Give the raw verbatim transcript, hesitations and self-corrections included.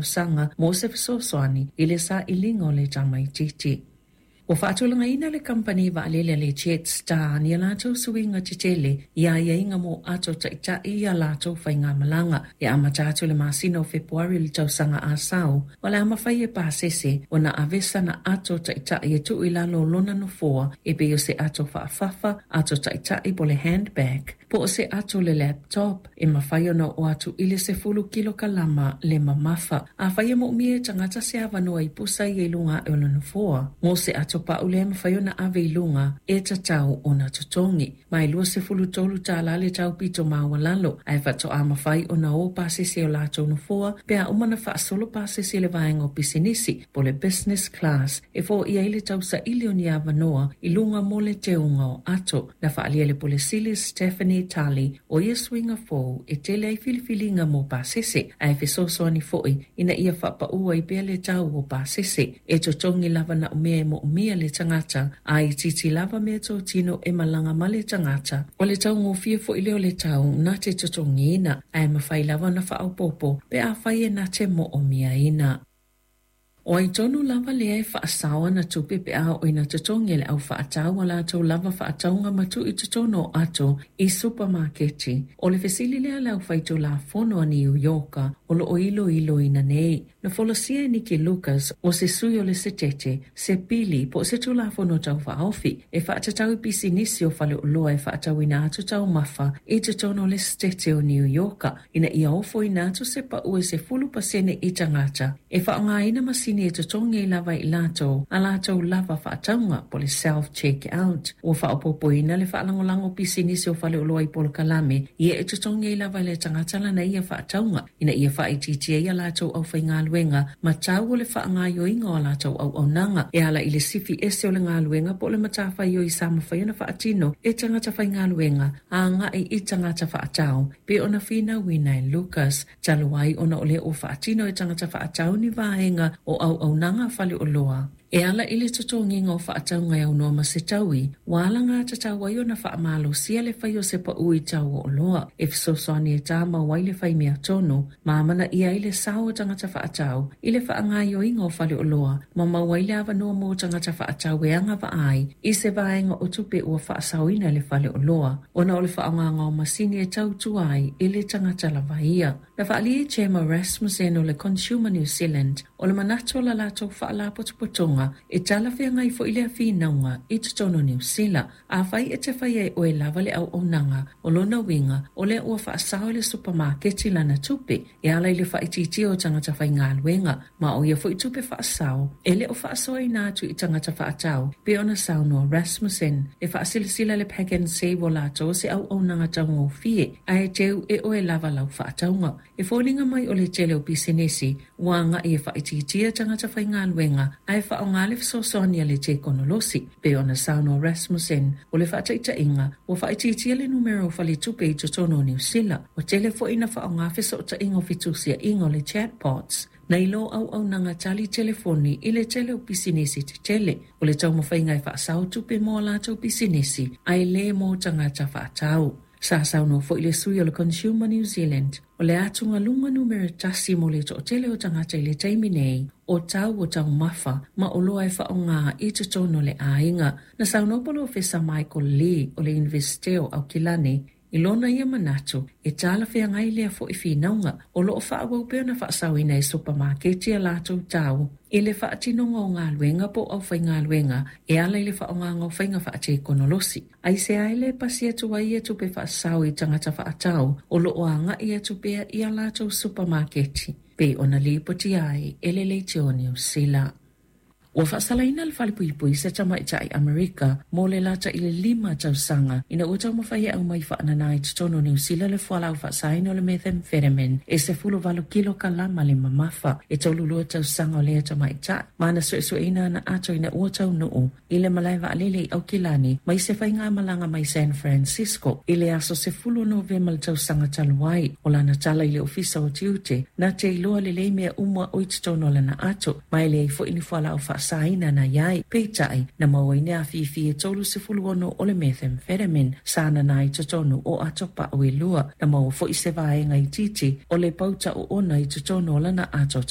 talosaga mo se fesoasoani i le sailiga o le tamaitiiti. Ua faatulagaina le kamupani vaalele a le Jetstar ni a latou suiga tetele i aiaiga mo ato taʻitaʻi i a latou faigamalaga e amata atu le masina o Fepuari le tausaga asau. O le a mafai e pasese ona ave sana ato taʻitaʻi e tuu i lalo o lona nofoa e pei o se ato faafafa, ato taʻitaʻi po o le handbag, po o se ato le laptop e mafai ona oo atu i le sefulu kilokalama le mamafa. Afai e moomia e tagata se avanoa i pusa ia i luga aʻe o le nofoa mo se ato pa'u lea e mafai ona ave i luga, e tatau ona totogi ma e luasefulu tolu tālā le tau pito maualalo, ae faatoa mafai ona o pasese o latou nofoa pe a uma ona faasolo pasese i le vaega o pisinisi po o le business class e foia ai le tausaili o ni avanoa i luga mo le teuga o ato. Na faaalia e le Pule Sili Stephanie Tully o ia suiga fou e tele ai filifiliga mo pasese ae fesoasoani foi ina ia faapaʻu ai pea le tau o pasese. E totogi lava na o mea e moomia le tagata a itiiti lava meatotino e malaga ma le tagata. O le taugofie foi lea o le tau na te totogiina ae mafai lava ona faaopoopo pe afai e na te moomiaina. O ai tonu lava lea e faasao ana tupe pe a oo ina totogi e le aufaatau a latou lava faatauga ma tuu i totonu o ato i supamaketi? O le fesili lea a le aufaitulafono a Niu Ioka o loo iloiloina nei. Na folasia e Nikki Lucas o se sui o le Setete se pili po o se tulafono taufaaofi e faatatau i pisinisi o faleoloa e faatauina atu taumafa i totonu o le Setete o Niu Ioka ina ia ofoina atu se paʻu e sefulu pasene i tagata e faaaogaina masini e totogi ai lava i latou a latou lava faatauga po o le self check out. Ua faaopoopoina le faalagolago pisinisi o faleoloa i polokalame ia e totogi ai lava e le tagata lana ia faatauga ina ia faaitiitia ai a latou aufaigaluega ma tau o le faagaoioiga o a latou auaunaga e ala i le sifi ese o le galuega po o le matafaioi sa mafai ona faatino e tagata faigaluega agai i tagata faatau pei ona finauina e Lucas. Talu ai ona o lea ua faatino e tagata faatau ni vaega o auaunaga faleoloa e ala i le totogiga o faatauga e aunoa ma se taui, ua alagatatau ai ona faamalosia le fai o se paʻu i tau o oloa e fesoasoani e tamau ai le faimea tonu ma amanaia ai le sao o tagata faatau i le faagaoioiga o faleoloa ma maua ai le avanoa mo tagata faatau e agavaa ai i se vaega o tupe ua faasaoina e le faleoloa ona o le faaaogaga o masini e tautua ai i le tagata lava ia. Na faaalia e Gemma Rasmussen o le Consumer New Zealand o le manatu o la latou faalapotopotoga e talafeagai foi lea finauga i totonu o Niu Sila. Afai e te faia e oe lava le auaunaga, o lona uiga o lea ua faasao e le supamaketi lana tupe e ala i le faaitiitia o tagata faigaluega, ma o ia foi tupe faasao e le o faasoaina atu i tagata faatau pei ona saunoa Rasmussen. E faasilasila le Pak'nSave o latou se auaunaga taugofie ae teu e oe lava lau faatauga. E foliga mai o le tele o pisinisi ua agai e faaitiitia tagata faigaluega ae faaaoga le fesoasoani a le tekonolosi pei ona saunoa Rasmussen. O le faataitaiga, ua faaitiitia le numera o faletupe i totonu o Niu Sila, ua tele foi ina faaaoga fesootaiga o fetusiaiga o le chatbots nai lo auaunaga tali telefoni i le tele o pisinisi tetele. O le taumafaiga e faasao tupe mo a latou pisinisi ae le mo tagata faatau. Sa saunoa foi le sui o le Consumer New Zealand o le atugaluga numera tasi mo le toatele o tagata i le taimi nei o tau o taumafa ma oloa e faaaoga i totonu o le aiga. Na saunoa Polofesa Michael Lee o le Iunivesite o Aukilani i lona ia manatu e talafeagai lea foi finauga. O loo faaauau pea ona faasaoina e supamaketi a latou tau i le faatinoga o galuega po o aufaigaluega e ala i le faaaogaga o faiga faatekonolosi. Aisea e le pasi atu ai ia tupe faasao i tagata faatau o loo agai atu pea i a latou supamaketi, pei ona lipotia ai e le Leitio Niu Sila. Ua faasalaina le falepuipui se tamaitai Amerika mo le lata i le lima tausaga ina ua taumafai e aumai faanana i totonu o Niu Sila le fualaau faasaina o le methamphetamine e sefuluvalu kilokalama le mamafa. E tolulua tausaga o lea tamaitai ma na suesueina ana ato ina ua taunuu i le malae vaalele i Aukilani mai se faigamalaga mai San Francisco i le aso sefulu o Novema le tausaga talu ai. O lana tala i le ofisa o tiute, na te iloa lelei mea uma o i totonu o lana ato ma e leai foi ni fualaau faasaina na iai. Peitai, na maua ai ni afifi e tolu sefulu ono o le methamphetamine sa nana i totonu o ato pa'u e lua. Na maua foi se vaega itiiti o le pauta oona i totonu o lana ato.